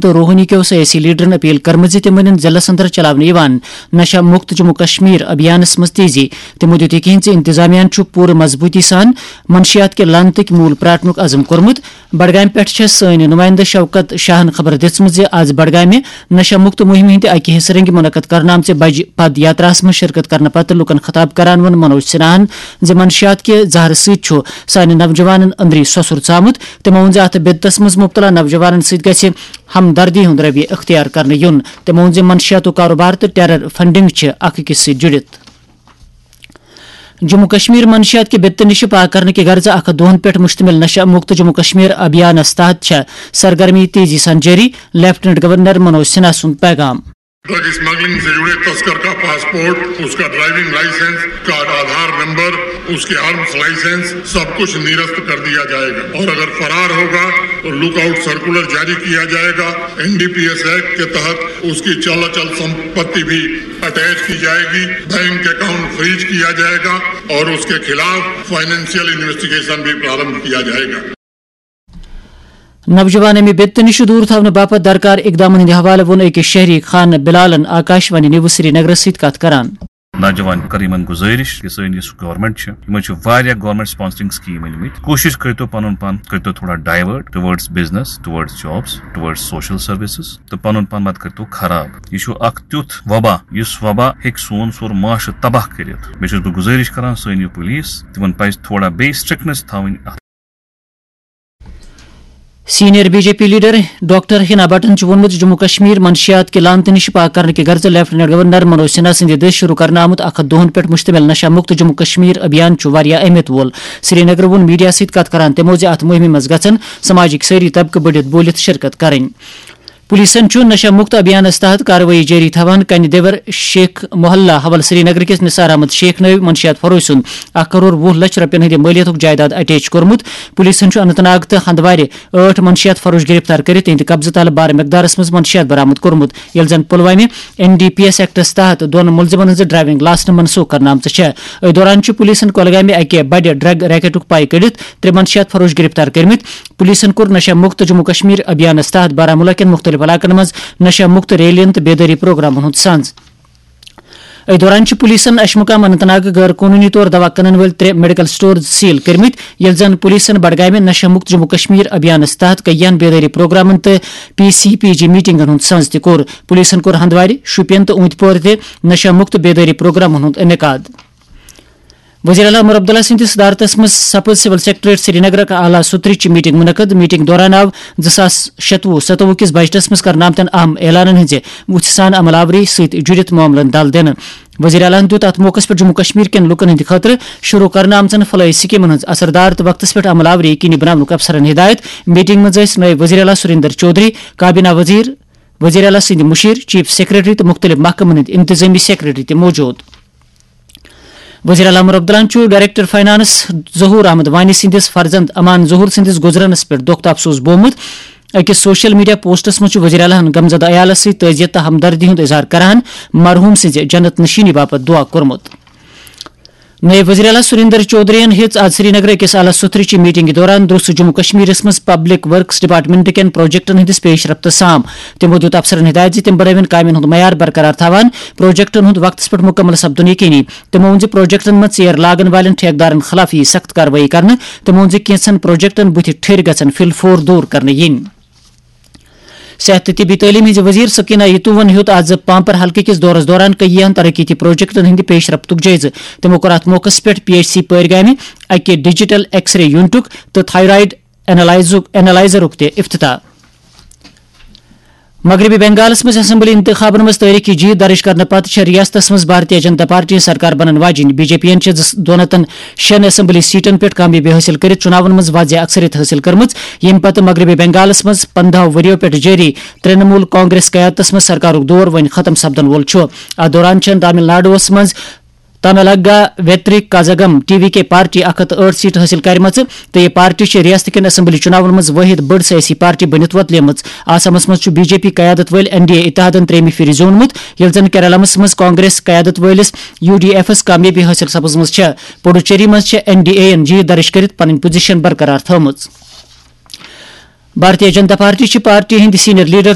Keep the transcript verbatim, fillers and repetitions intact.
تہٕ روحنی کیو سیٲسی لیڈرن اپیل کٔرمٕژ زِ تِم أنِن ضلعس اندر چلاونہٕ یِوان نشہ مکت جموں کشمیر ابھیانس منٛز تیزی۔ تِمو دیُت یقین زِ انتظامیہ چھُ پوٗرٕ مضبوٗطی سان منشیات کہِ لعنتٕکۍ موٗل پراٹنُک عزم کوٚرمُت۔ بڈگامہِ پٮ۪ٹھ چھےٚ سٲنۍ نُمٲیندٕ شوکت شاہن خبر دِژمٕژ زِ آز بڈگامہِ نشہ مکت مُہِمہِ ہٕنٛدِ اکہِ حصہٕ رنگہِ منعقد کرنہٕ آمژِ بجہِ پد یاتراہس منٛز شرکت کرنہٕ پتہٕ لوٗکن خطاب کران ووٚن منوج سنہاہن زِ منشیات کہِ زہرٕ سۭتۍ چھُ سانہِ نوجوانن أنٛدری سۄسُر ژامُت۔ تِمو ووٚن زِ اتھ بدعتس منٛز مبتلا نوجوانن سۭتۍ گژھِ ہمدردی ہُنٛد رویہ اختیار کرنہٕ یُن۔ تِمو ووٚن زِ منشیاتُک کاروبار تہٕ ٹیرر فنڈنگ چھِ اکھ أکِس سۭتۍ جُڑِتھ۔ جموں کشمیر منشیات کہِ بدعتہٕ نِش پاک کرنہٕ کہِ غرضہٕ اکھ ہتھ دۄہن پٮ۪ٹھ مشتمل نشہ مکت جموں کشمیر ابھیانس تحت چھےٚ سرگرمی تیزی سان جٲری، لیفٹیننٹ گورنر منوج سنہا سُنٛد پیغام۔ ڈرگ اسمگلنگ سے جڑے تسکر کا پاسپورٹ، اس کا ڈرائیونگ لائسنس، اس کا آدھار نمبر، اس کے آرمز لائسنس، سب کچھ نرست کر دیا جائے گا اور اگر فرار ہوگا تو لک آؤٹ سرکولر جاری کیا جائے گا۔ N D P S act کے تحت اس کی چل اچل سمپتی بھی اٹیچ کی جائے گی، بینک اکاؤنٹ فریز کیا جائے گا اور اس کے خلاف فائنینشیل انویسٹیگیشن بھی پرارمبھ کیا جائے گا۔ نوجوان امہِ بدعتہٕ نِش دوٗر تھاونہٕ باپتھ درکار اقدامن ہٕنٛدِ حوالہٕ ووٚن أکِس شہری خان بلالن آکاش وانی نیوز سری نگرس سۭتۍ کتھ کران۔ نوجوان کر یِمن گُزٲرِش کہِ سٲنۍ یُس گورنمنٹ چھِ، یِمن چھِ واریاہ گورنمنٹ سپانسرنگ سکیٖم أنۍ مٕتۍ۔ کوٗشِش کٔرۍتو پنُن پان، کٔرۍتو تھوڑا ڈایوٲرٹ ٹُوٲرڈس بزنس، ٹُوٲرڈس جابس، ٹُوٲرڈس سوشل سروسز، تہٕ پنُن پان مت کٔرۍتو خراب۔ یہِ چھُ اکھ تیُتھ وبا، یُس وبا ہیٚکہِ سون سورُے معاشرٕ تباہ کٔرِتھ۔ مےٚ چھُس بہٕ گُزٲرِش کران سٲنۍ یہِ پُلیٖس، تِمن پزِ تھوڑا بیٚیہِ سٹرکٹنس تھاوٕنۍ اتھ۔ Senior B J P leader doctor Hina بٹن چھُ ووٚنمُت زِ جموں کشمیر منشیات کہِ لعنتہٕ نِش پاک کرنہٕ کہِ غرضہٕ لیفٹیننٹ گورنر منوج سنہا سٕنٛدِ دٔسۍ شروع کرنہٕ آمُت اکھ ہتھ دۄہن پٮ۪ٹھ مشتمل نشہ مکت جموں کشمیر ابھیان چھُ واریاہ اہمیت وول۔ سری نگرٕ ووٚن میڈیا سۭتۍ کتھ کران تِمو زِ اتھ مُہِمہِ منٛز گژھن سماجٕکۍ سٲری طبقہٕ بٔڑِتھ بوٗلِتھ شرکت کرٕنۍ۔ پولیسن چھُ نشہ مکت ابھیانس تحت کاروٲیی جٲری تھاوان۔ کنہِ دیور شیخ محلہ حوالہٕ سری نگر کِس نثار احمد شیخ نٲوۍ منشیات فروش سُنٛد اکھ کرور وُہ لچھ رۄپین ہٕنٛدِ مٲلیتُک جائیداد اٹیچ کوٚرمُت۔ پولیسن چھُ اننت ناگ تہٕ ہندوارِ ٲٹھ منشیات فروش گرفتار کٔرِتھ تِہنٛدِ قبضہٕ تل بارٕ مقدارس منٛز منشیات برآمد کوٚرمُت، ییٚلہِ زن پلوامہِ این ڈی پی ایس ایکٹس تحت دۄن مُلزِمن ہٕنٛز ڈرائیونگ لائسنس منسوخ کرنہٕ آمژٕ چھےٚ۔ أتھۍ دوران چھُ پولیسن کۄلگامہِ اکہِ بڑِ ڈرگ ریکٹُک پاے کٔڑِتھ ترٛےٚ منشیات فروش گرفتار کٔرمٕتۍ۔ پولیسن کوٚر نشہ مکت جموں کشمیر ابھیانس تحت بارہمولہ کٮ۪ن مُختٔلِف علاقن منٛز نشہ مکت ریلین تہٕ بیدٲری پروگرامن ہُنٛد سنز۔ أتھۍ دوران چھِ پولیسن اشمُقام اننت ناگ غٲر قونوٗنی طور دوا کٕنن وٲلۍ ترٛےٚ میڈیکل سٹورز سیل کٔرمٕتۍ، ییٚلہِ زن پولیسن بڈگامہِ نشہ مکت جموں کشمیر ابھیانس تحت کٔیہن بیدٲری پروگرامن تہٕ پی سی پی جی میٹنگن ہُنٛد سنز تہِ کوٚر۔ پولیسن کوٚر ہندوارِ، شوپین تہٕ اوٗنتۍ پورِ تہِ نشہ مکت بیدٲری پروگرامن ہُنٛد انعقاد۔ وزیر اعلیٰ عمر عبداللہ سٕنٛدِس صدارتس منٛز سپٕز سول سیکرٹریٹ سری نگرک اعلیٰ سطحٕچ میٹنگ منعقد۔ میٹنگ دوران آو زٕ ساس شتوُہ ستوُہ کِس بجٹس منٛز کرنہٕ آمتٮ۪ن اہم اعلانن ہٕنٛزِ وُژھِ سان عمل آوری سۭتۍ جُڑِتھ معاملن دل دِنہٕ۔ وزیر اعلیٰ ہَن دیُت اَتھ موقعَس پٮ۪ٹھ جموں کشمیر کٮ۪ن لوٗکَن ہٕنٛدِ خٲطرٕ شروٗع کرنہٕ آمژن فلٲحی سکیٖمن ہٕنٛز اثردار تہٕ وقتس پٮ۪ٹھ عمل آوری یقینی بناونُک افسرن ہدایت۔ میٹنگ منٛز ٲسۍ نٲیِب وزیر اعلیٰ سریندر چودھری، کابینہ وزیر، وزیر اعلیٰ سٕنٛدۍ مُشیر، چیف سیکرٹری تہٕ مُختٔلِف محکمن ہٕنٛدۍ انتظٲمی سیکرٹری تہِ موجود۔ وزیر اعلیٰ عمر عبداللہ چھُ ڈائریکٹر فائنانس ظہور احمد وانی سٕنٛدِس فرزند امان ظہور سٕنٛدِس گُزرنس پٮ۪ٹھ دۄکھ تہٕ افسوس بوومُت۔ أکِس سوشل میڈیا پوسٹس منٛز چھُ وزیر اعلیٰ ہن غمزدہ عیالس سۭتۍ تعزیت تہٕ ہمدردی ہُنٛد اظہار کران مرحوم سٕنٛزِ جنت نشینی باپتھ دعا کوٚرمُت۔ نٲیِب وزیر اعلیٰ سریندر چودھری یَن ہیٚژ آز سرینگر أکِس اعلیٰ سطحٕچہِ میٹنگہِ دوران درٛوس جموں کشمیرس منٛز پبلک ورکس ڈپارٹمنٹ کٮ۪ن پروجیکٹن ہٕنٛدِس پیش رفتس سام۔ تِمو دیُت افسرن ہدایت زِ تِم بنٲوِن کامٮ۪ن ہُنٛد معیار برقرار تھاوان، پروجیکٹن ہُنٛد وقتس پٮ۪ٹھ مُکمل سپدُن یقینی۔ تِمو ووٚن زِ پروجیکٹن منٛز ژیر لاگن والٮ۪ن ٹھیکہٕ دارن خلاف یِیہِ سخت کاروٲیی کرنہٕ۔ تِمو ووٚن زِ کینٛژن پروجیکٹن بُتھِ ٹھٔرۍ گژھن فِل فور دوٗر کرنہٕ یِنۍ۔ صحت تہٕ طبی تعلیٖم ہٕنٛزِ وزیر سکینہ یتوٗون ہیوٚت آز پامپر حلقہٕ کِس دورس دوران کٔییہن ترقیتی پروجیکٹن ہٕنٛدِ پیش رفتُک جٲیزٕ۔ تِمو کوٚر اتھ موقعس پٮ۪ٹھ پی ایچ سی پٲرۍ گامہِ اکہِ ڈیجیٹل ایکس رے یونٹُک تہٕ تھائرائیڈ اینالائزُک، اینالائزرُک تہِ افتتاح۔ مغربی بنگالس منٛز اسمبلی انتخابن منٛز تٲریخی جیت درج کرنہٕ پتہٕ چھےٚ ریاستس منٛز بھارتیہ جنتا پارٹی سرکار بنن واجیٚنۍ۔ بی جے پی یَن چھِ زٕ، دۄن ہتن شیٚن اسمبلی سیٹن پٮ۪ٹھ کامیٲبی حٲصِل کٔرِتھ چُناون منٛز واضح اکثریت حٲصِل کٔرمٕژ، ییٚمہِ پتہٕ مغربی بنگالس منٛز پندہو ؤرِیو پٮ۪ٹھ جٲری ترٛنمول کانگریس قیادتس منٛز سرکارُک دور وۄنۍ ختم سپدن وول چھُ۔ اتھ دوران چھےٚ تامل ناڈوہس منٛز تاملگا ویتری کازگم ٹی وی کے پارٹی اکھ ہتھ ٲٹھ سیٹہٕ حٲصِل کرِمژٕ تہٕ یہِ پارٹی چھِ ریاست کٮ۪ن اسمبلی چُناون منٛز وٲحد بٔڑ سیٲسی پارٹی بٔنِتھ وۄتلیمٕژ۔ آسامس منٛز چھُ بی جے پی قیادت وٲلۍ این ڈی اے اتحادن ترٛیٚیمہِ پھِرِ زیوٗنمُت، ییٚلہِ زن کیرالمس منٛز کانگریس قیادت وٲلِس یو ڈی ایفس کامیٲبی حٲصِل سپٕزمٕژ چھےٚ۔ پڈوچیری منٛز چھےٚ این ڈی اے یَن جیت درج کٔرِتھ پنٕنۍ پوزیشن برقرار تھٲومٕژ۔ بھارتیہ جنتا پارٹی چھِ پارٹی ہٕنٛدۍ سینئر لیڈر